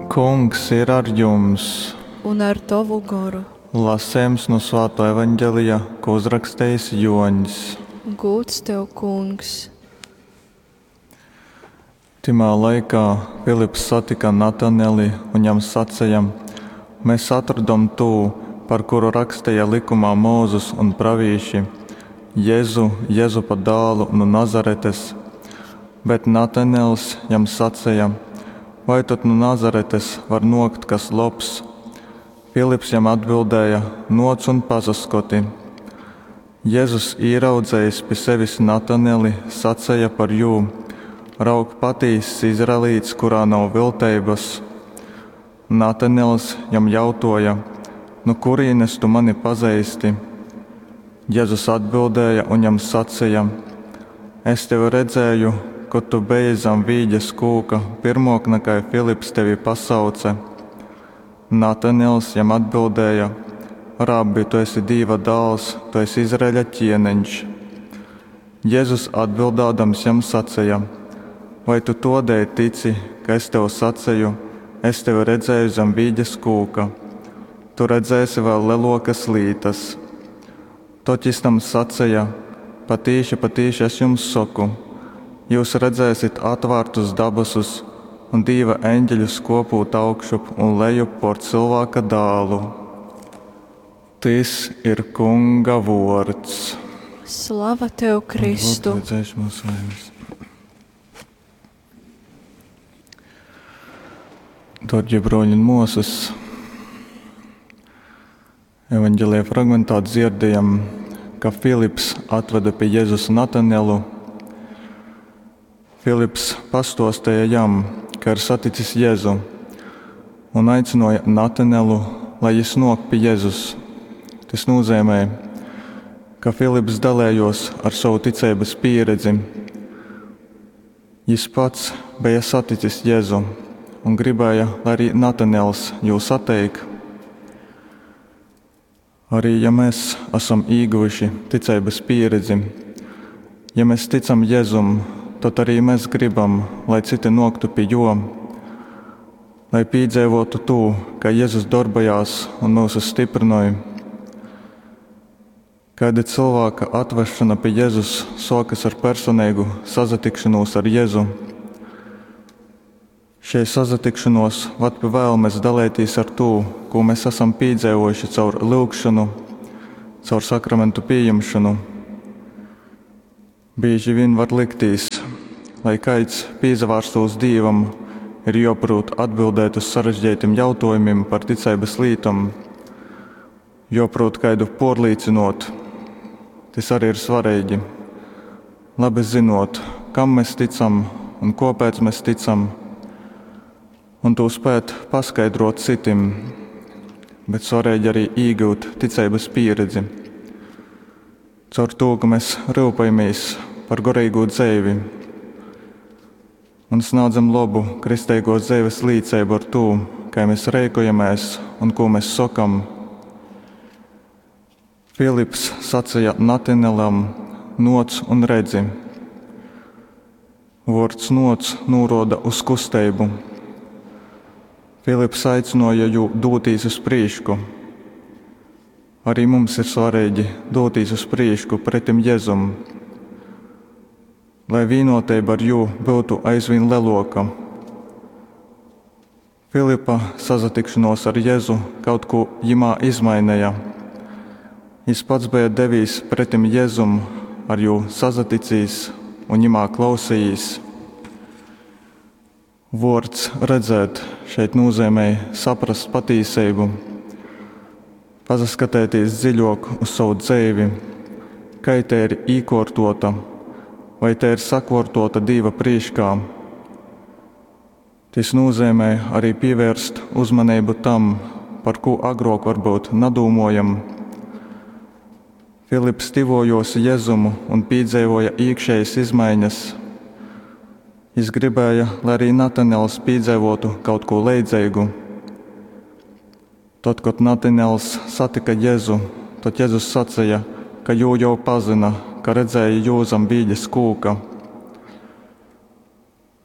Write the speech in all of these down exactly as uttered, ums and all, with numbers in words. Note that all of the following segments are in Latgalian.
Kungs ir ar jums! Un ar tovu goru. Lasejums nu Svātō Evangelija, ko uzrakstejis Jōņs. Gūds tev, Kungs! Tymā laikā Filips satyka Nataneli un jam saceja, Mes atrodom tū, par kuru raksteja lykumā Mozus un pravīši, Jezu, Jezupa dālu nu Nazaretes. Bet Natanels jam saceja, Vai tod nu Nazaretes var nōkt kas lobs? Filips jam atbildēja, Nōc un pasaskoti. Jezus, īraudzejis pi sevis Nataneli, saceja par jū, Raug, patīss izraelīts, kurā nav vilteibas. Natanels jam jautōja, Nu kurīnes tu mani pazeisti? Jezus atbildēja un jam saceja, Es tevi redzēju, kod tu beji zam vīģes kūka, pyrmōk nakai Filips tevi pasauce. Natanels jam atbildēja, Rabbi, tu esi Dīva dāls, tu esi Izraeļa ķieneņš. Jezus atbildādams jam saceja, Vai tu tōdēļ tici, ka es tev saceju, es tevi redzēju zem vīģes kūka? Tu redzēsi vēl lelōkas lītas. Tod jis tam saceja, Patīši, patīši es jums soku, jūs redzēsit atvārtus dabasus un Dīva eņģeļus kōpūt augšup un lejup pōr Cylvāka dālu. Tys ir Kunga vōrds. Slava tev, Kristu! Dārgie broļi un mosas, Evangelija fragmentā dzirdējam, ka Filips atveda pie Jēzus Natanelu. Filips pastostēja jam, ka ir saticis Jēzu, un aicināja Natanelu, lai jis nok pie Jēzus. Tas nozīmē, ka Filips dalējos ar savu ticeibas pieredzi. Jis pats bija saticis Jēzu un gribēja, lai arī Natanels jū sateik. Arī ja mēs esam ieguvuši ticeibas pieredzi, ja mēs ticam Jēzum, tad arī mēs gribam, lai citi noktu pie jo, lai piedzīvotu to, ka Jēzus darbojās un mūs stiprinoj. Kāda cilvēka atvešana pie Jēzus sokas ar personīgu sazatikšanos ar Jēzu. Šie sazatikšanos vad pie vēlmes dalēties ar to, ko mēs esam piedzīvojuši caur lūgšanu, caur sakramentu pieņemšanu. Bieži vien var liktīs, lai kaids pīzavārstos Dīvam, ir joprūt atbildēt uz sarežģītiem jautājumiem par ticeibas lītom, joprūt kaidu porlīcinot. Tas arī ir svarīgi. Labi zinot, kam mēs ticam un kāpēc mēs ticam, un to spēt paskaidrot citim, bet svarīgi arī iegūt ticeibas pieredzi. Caur to, ka mēs rūpējamies par garīgo dzīvi un sniedzam labu kristīgo dzīves līdzību ar to, kā mēs rēkojamies un ko mēs sakam. Filips sacīja Natanelam: Noc un redzi. Vārds noc nūroda uz kusteibu. Filips aicināja jū dūtīs uz prīšku. Arī mums ir svarīgi dūtīs uz prīšku pretim Jēzum, lai vienotība ar jū būtu aizvien leloka. Filipa sazatikšanos ar Jēzu kaut ko jimā izmainīja. Jis pats bija devīs pretim Jēzum, ar jū sazaticīs un jimā klausījīs. Vārds redzēt šeit nozīmē saprast patīsību, pasaskatēties dziļāk uz savu dzīvi, kā te ir īkortota, vai te ir sakortota Dieva prīškā. Tas nozīmē arī pievērst uzmanību tam, par ko agrāk varbūt nadūmojam. Filips tivojos Jēzumu un piedzīvoja iekšējas izmaiņas. Jis gribēja, lai arī Natanels piedzīvotu kaut ko leidzīgu. Tad, kad Natanels satika Jēzu, tad Jēzus sacīja, ka jū jau pazina, ka redzēja jū zem vīģes kūka.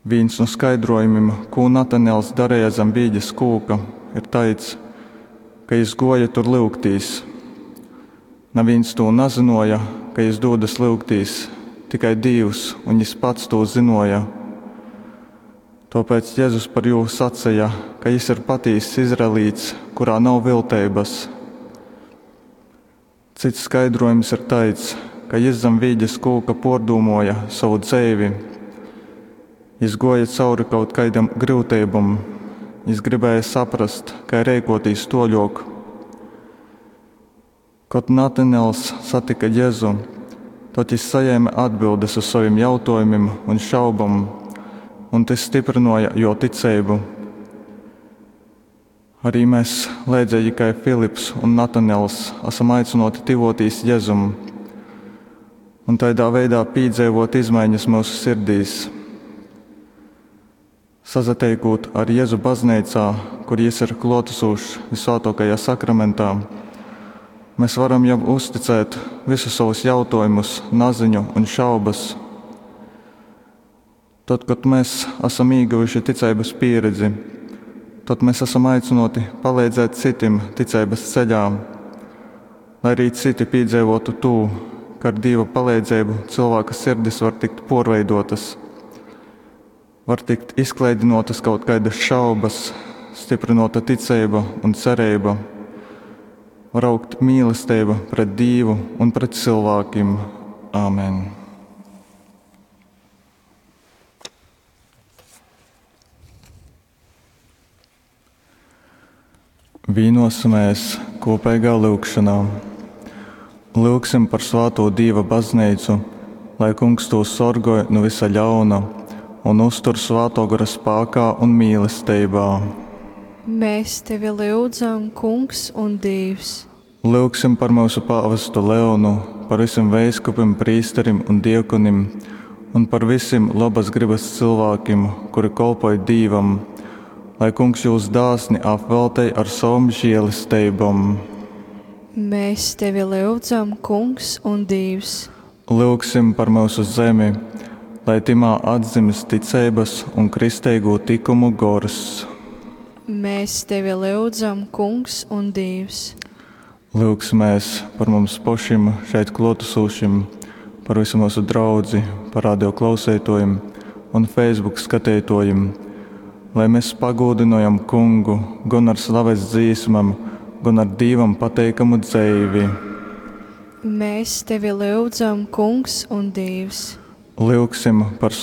Vīns nu skaidruojumim, kū Nataniels dareja zam vīģes kūka, ir taids, ka jis guoja tur lyugtīs. Navīns tū nazynuoja, ka jis dūdas lyugtīs, tikai Dīvs un jis pats tū zynuoja. Tuopēc Jezus par jū saceja, ka jis ir patīss izraelīts, kurā nav vilteibas. Cyts skaidrojums ir taids, ka jis zam vīģes kūka puordūmuoja sovu dzeivi. Jis guoja cauri kaut kaidam gryuteibom, jis gribēja saprast, kai reikuotīs tuoļuok. Kod Nataniels satyka Jezu, tod jis sajēme atbildes uz sovim jautuojumim un šaubom, un tys styprynuoja juo ticeibu. Arī mēs, leidzeigi kai Filips un Nataniels, asam aicynuoti tyvuotīs Jezum un taidā veidā pīdzeivuot izmaiņas myusu sirdīs. Sasateikūt ar Jezu bazneicā, kur jis ir kluotasūšs Visvātuokajā sakramentā, mēs varam jam uzticēt visus savus jautuojumus, naziņu un šaubas. Tod, kod mēs asam īguvuši ticeibas pīredzi, tod mēs asam aicynuoti paleidzēt cytim ticeibas ceļā, lai arī citi pīdzeivotu tū, ka ar Dīva paleidzeibu cylvāka sirdis var tikt puorveiduotas, var tikt izklaidynuotas kaut kaidas šaubas, styprynuota ticeiba un cereiba, var augt mīlesteiba pret Dīvu un pret cylvākim. Āmen. Vīnosimies kopīgā lyugšanā. Lyugsim par svātū Dīva baznīcu, lai Kungs tū sorgoj no visa ļauna un uztur svātō gora spākā un mīlestībā. Mēs tevi lyudzam, Kungs un Dievs. Lyugsim par mūsu pāvestu Leonu, par visiem veiskupim, prīsterim un diekonim un par visiem labas gribas cilvēkiem, kuri kolpoj Dīvam, lai Kungs jūs dāsni apveltej ar savam žēlesteibom. Mēs tevi lyudzam, Kungs un Dievs. Lyugsim par mūsu zemi, lai timā atdzimst ticeibas un kristeigū tikumu gors. Mēs tevi lyudzam, Kungs un Dievs. Lyugsimies par mums pašiem šeit klātesošiem, par visu mūsu draudzi, par radio klausītājiem un Facebook skatītājiem, lai mēs pagūdinojam Kungu gan ar slaves dzīsmam, gan ar Dīvam pateikamu dzeivi. Mēs tevi lyudzam, Kungs un Dievs. Lyugsim par